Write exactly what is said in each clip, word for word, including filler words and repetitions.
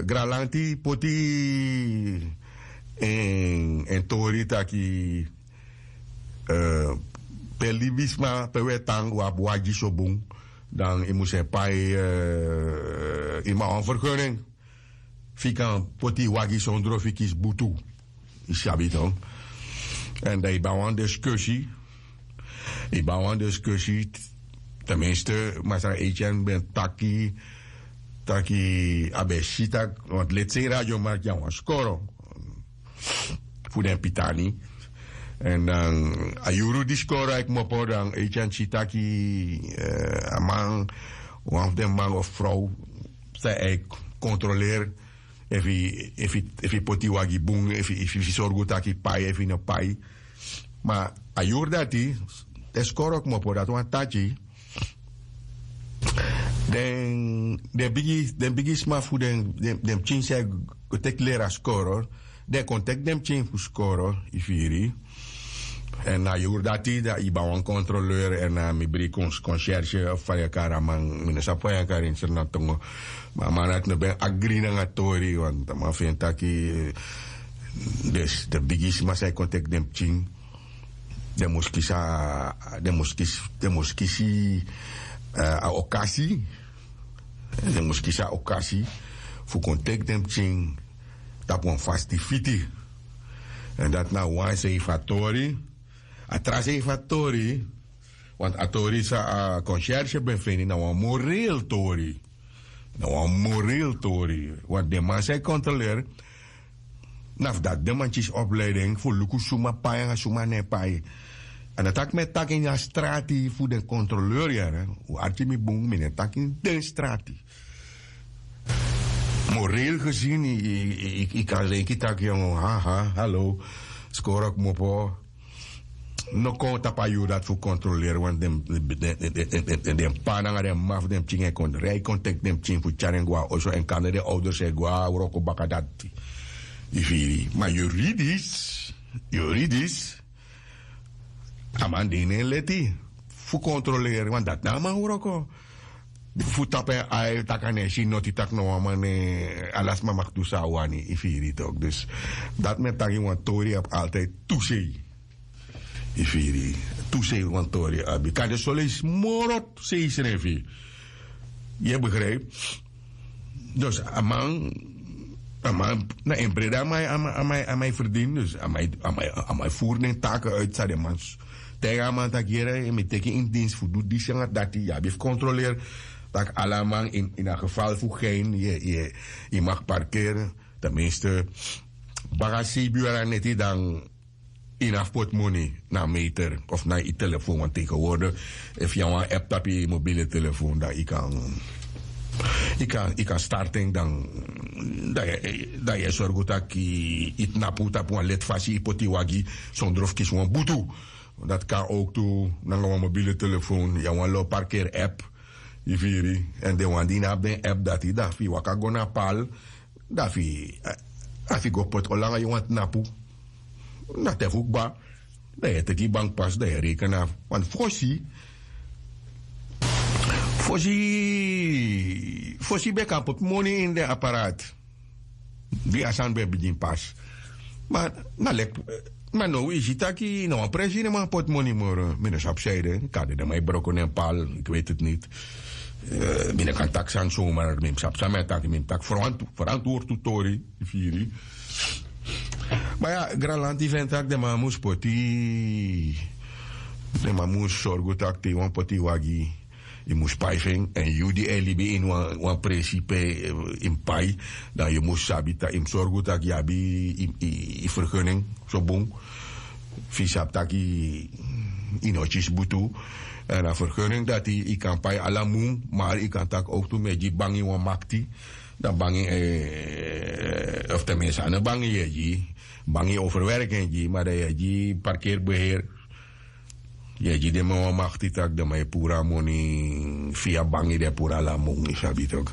Granlanti poti en tori taki pe libisma pe un e tan un abi wagi so bun, dan yu mus e pai, yu man wan fergening fu yu kan poti yu wagi sondro fu yu kisi butu. Yu sabi ton? Èn dan yu ban wan diskusi. Yu ban wan diskusi. Ten minste masra etienne ben taki taki a ben si taki want leti sei radiomarki na wan skoro fu den pitani. Èn dan a yuru di skoro a e kmopo dan etienne si taki a man wan fu den man of frow san a e kontroleri efu yu poti wagi bun efu yu sorgu taki pai efu yu no pai. Ma a yuru dati den skoro kmopo dati wan taki den bigi sma fu den pikin san e go teki leri a skoro den kon teki den pikin fu skoro. Yu firi? Èn na yuru dati dan yu ban wan kontroleur èn na mi bri kon kon serse of faya kari a man mi no sabi faya kari ini sri na tongo. Ma a man dati no ben agri nanga tori want a man feni taki den bigi sma san e kon teki den pikin den mus kisi a den mus kisi a okasi den mus kisi a okasi fu kon teki den pikin tapu wan fastifiti. Èn dati na wan sei fu a tori. A tra sei fu a tori want a tori san a konserse ben feni na wan morel tori. Na wan morel tori. Want den man san e kontroleri na fu dati den man kisi opleiding fu luku suma pai nanga suma no e pai. A no taki mi e taki ini a strati fu den kontroleri yere. Un arki mi bun mi no e taki ini den strati. Moreel gezin yu kan leiki taki yon haha halo skoro kmopo. No kon tapu a yuru dati fu kontroleri want den pa nanga den mama fu den pikin e kon rei kon teki den pikin fu tyari en go na oso èn kande den ouders e go na wroko baka dati. Yu firi ma yuridis yuridis a man de ini en leti fu kontroleri want dati na a man wroko. Fu tapu en ai taki a no e si noti tak' na wan man ne ala sma maki du san a wani yu firi tok dus dati mi e taki wan tori abi altide tu sei. Yu firi tu sei wan tori abi kande soleisi moro sei srefi. Yu e begrijpi? Dus a man a man na en brede a man e ferdini dus a man e furu den take uit san den man taigi a man taki yere yu mi teki ini dinsi fu du disi nanga dati yu abi fu kontroleri. Tak' ala man ini a geval fu gein yu maki parkeri. Ten minste baka seibi yuru na neti dan yu no abi fu poti moni na a meter of na yu telefon want tegenwoordi efu yu na wan app tapu yu mobiele telefon dan yu kan yu kan start en dan dan yu e sorgu tak' yu tnapu tapu wan leti fasi yu poti yu wagi sondro fu kisi wan butu. Dati kan owktu nanga wan mobiele telefon yu na wan lo parkeri app. Yu firi èn den wan di yu no abi den app dati dan fu yu waka go na pal dan fu yu go poti olo nanga yu wan tnapu. Na te fu kba dan yu e teki yu bank pasi dan yu e reken na wan fosi fosi fosi ben kan poti moni ini den aparat. Di a sani ben bigin pasi ma na leki ma now yu si taki na wan presi yu no man poti moni moro mi no sabi san ede kande den man e broko nen pal. Iki weti tu niti. Mi no kan taki sani somar mi mus sabi san mi e taki mi mus taki ferantwortu tori. Yu firi? Ma ya granlanti feni tak' den man mus poti den man mus sorgu tak' te yu wani poti yu wagi yu mus pai fu en èn yu di e libi ini wan presi pe yu mus pai dan yu mus sabi tak' yu mus sorgu tak' yu abi yu fergening so bun. Fu yu sabi tak' yu no kisi butu èn a fergening dati yu kan pai ala mun. Mari yu kan taki owktu mi e gi bangi wan makti dan bangi of ten minste a no bangi yu e gi bangi overwerking gi ma dan yu e gi parkeri beheer. Yu e gi den man wan makti tak' den man e puru a moni fia bangi den e puru ala moni sabi tok.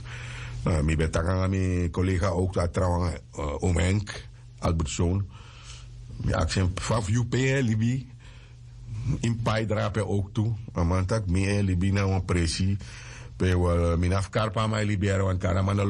Mi ben taki nanga mi kolega owktu a trawan omenk albertson. Mi aksi en fa fu yu pe yu e libi? Yu mus pai drape owktu. A man taki mi e libi na wan presi pe mi no abi fu kari pe a man e libi yara wani kari a man no